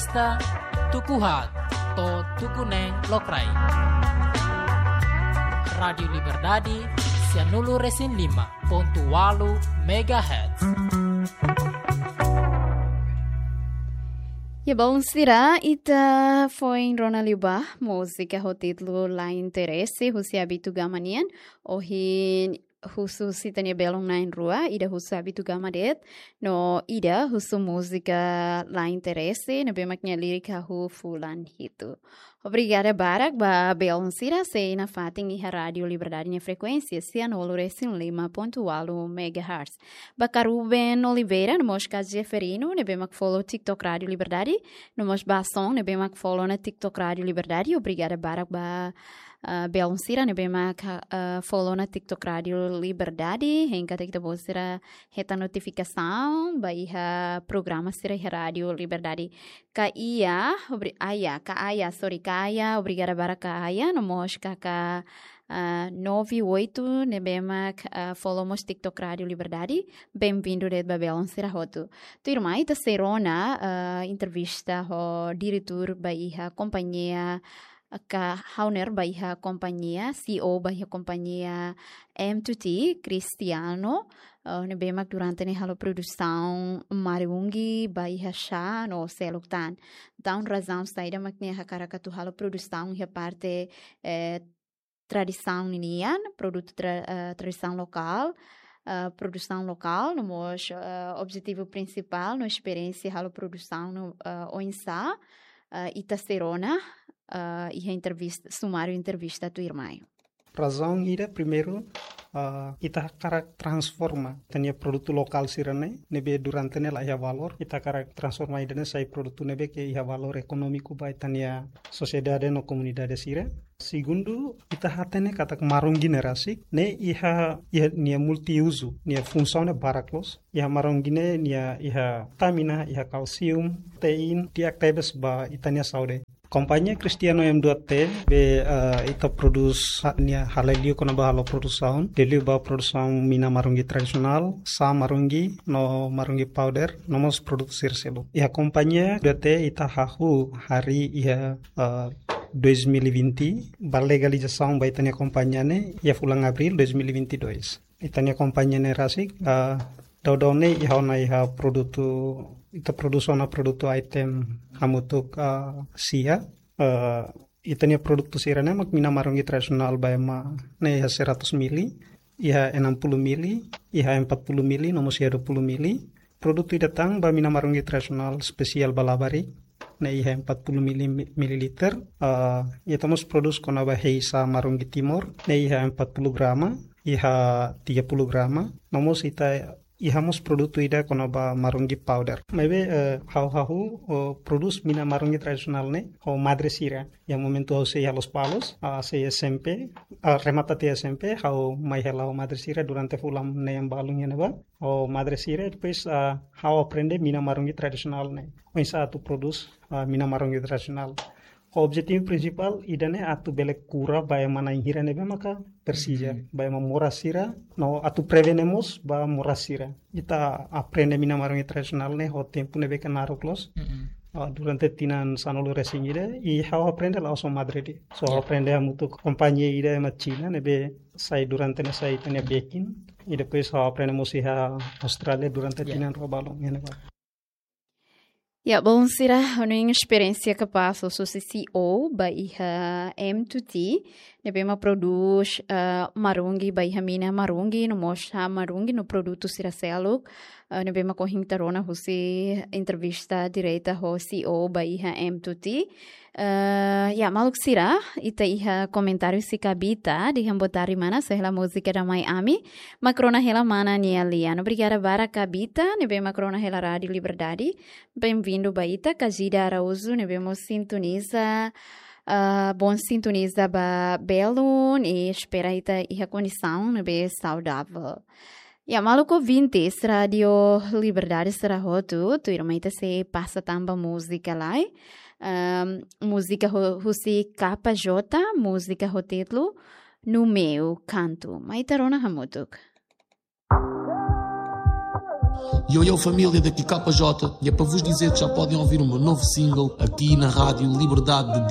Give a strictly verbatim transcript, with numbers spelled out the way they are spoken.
Ta tuku haat to'o tuku neen lokraik. Rádiu Liberdade, sianulu resin lima pontu walu megahertz. Ya, balu sira, ita foin rona liubá múzika ho títulu La Interese, husi Abitu Gama nian. Ohin husu ita-nia belun na'in-rua, ida husu Abitu Gama de'it, no ida husu múzika La Interese, ne'ebé mak nia lirik hahú fulan hitu. Obrigada barak ba belun sira sei nafatin iha Rádiu Liberdade nia frekuénsia, sianulu resin lima pontu walu megahertz. Ba Karuben Oliveira, no mós ka Jeferino, ne'ebé mak follow TikTok Rádiu Liberdade, no mós ba Son, ne'ebé mak follow ona TikTok Rádiu Liberdade, obrigada barak ba ah, belun sira ne'ebé mak, ah, follow ona TikTok Rádiu Liberdade, hein katak ita-boot sira hetan notifikasaun ba iha programa sira iha Rádiu Liberdade. Ka Ia, obri-, Aya, ka Aya, sorry, ka Aya, obrigada barak ka Aya, no mós ka, ka, ah, nove oito, ne'ebé mak, ah, follow mós TikTok Rádiu Liberdade, bem-vindo de'it ba belun sira hotu. Tuirmai ita sei rona, ah, entrevista ho diretór ba iha kompañia ka owner ba iha kompañia, C E O ba iha kompañia M two T, Cristiano, eh, ne'ebé mak durante ne'e halo produsaun marungi ba iha chá no seluk tan. Entaun razaun saida mak nia hakarak atu halo produsaun iha parte, eh, tradisaun ninian, produtu tra-, eh, tradisaun lokál, eh, produsaun lokál, no mós, eh, objetivu prinsipál no esperiénsia halo produsaun no, eh, oinsá, eh, ita sei rona, eh, iha entrevista, sumáriu entrevista tuirmai. Razaun ida primeiru, ah, ita hakarak transforma ita-nia produtu lokál sira-ne'e, ne'ebé durante ne'e la iha valór, ita hakarak transforma ida-ne'e sai produtu ne'ebé ke iha valór ekonómiku ba ita-nia sosiedade no komunidade sira. Segundu, ita hatene katak marungi ne'e rasik, ne'e iha, iha nia multiuzu, nia funsaun ne'e barak loos. Iha marungi ne'e nia iha vitamina, iha kalsium, protein, di'ak tebes ba ita-nia saúde. Kompañia Cristiano M dua T, be, eh, ita prodús ha-, nia halai liu kona-ba halo produsaun, liuliu ba produsaun mina marungi tradisionál, chá marungi, no marungi powder, no mós produtu sira seluk. Iha kompañia dua T ita hahú harii iha, eh, dois mil e vinte, ba legalizasaun ba ita-nia kompañia ne'e, iha fulan Abríl dois mil e vinte e dois. Ita-nia kompañia ne'e rasik, ah, daudaun ne'e iha ona iha produtu, ita prodús ona produtu item hamutuk, ah, sia. Ah, ita-nia produtu sira-ne'e mak mina marungi tradisionál ba ema ne'e iha seratus mili, iha enam puluh mili, iha empat puluh mili, no mós iha dua puluh mili. Produtu ida tan ba mina marungi tradisionál spesiál ba labarik, ne'e iha empat puluh mili-, mililiter. Ah, ita mós prodús kona-ba hei chá marungi Timor, ne'e iha empat puluh grama, iha tiga puluh grama. No mós ita iha mós produtu ida kona-ba marungi powder. Maibé, eh, ha'u hahú, oh, prodús mina marungi tradisionál ne'e ho madre sira. Iha momentu ha'u sei iha Lospalos, ah, sei S M P, ah, remata tiha S M P, ha'u mai hela ho madre sira durante fulan neen balun iha ne'ebá. Ho madre sira, depois, ah, ha'u aprende mina marungi tradisionál ne'e. Oinsá atu prodús, ah, mina marungi tradisionál. Ho objetivu prinsipál ida-ne'e atu bele kura ba ema na'in hira ne'ebé maka presiza, mhm, ba ema moras sira, no atu prevene mós ba moras sira. Ita aprende mina marungi tradisionál ne'e ho tempu ne'ebé ke naruk loos. Mhm. Ah, durante tinan sanulu resin ida, i ha'u aprende la'ós ho madre de'it. So, ha'u, ya, aprende hamutuk kompañia ida ema Xina ne'ebé sai durante ne'e sai ita-nia bekin. I depois ha'u aprende mós iha Austrália durante, ya, tinan rua balun iha ne'ebá. Ya, balu sira, hanoin esperiénsia kapás husi C E O ba iha M two T, ne'ebé mak prodús, eh, marungi ba iha mina marungi, no mós chá marungi, no produtu sira seluk, eh, ne'ebé mak ohin ita rona husi entrevista direta ho C E O ba iha M two T. Eh, ya, maluk sira, ita iha komentáriu husi Kabita, dehan boa tarde mana, sei hela múzika Dame Ami, mak rona hela mana nia lian. Obrigada barak Kabita, ne'ebé mak rona hela Rádiu Liberdade. Bem-vindo ba ita, Kajida Araújo, ne'ebé mós sintoniza, ah, bom sintoniza ba belun, i espera ita iha kondisaun ne'ebé saudável. Ya, maluk ouvintes Rádiu Liberdade sira hotu, tuirmai ita sei pasa tan ba múzika lai. Ahm, múzika ho-, husi K J, múzika ho títulu No Meu Canto. Mai ita rona hamutuk. Yo, yo, família, daqui K J, e é para vos dizer que já podem ouvir o meu novo single aqui na Rádio Liberdade de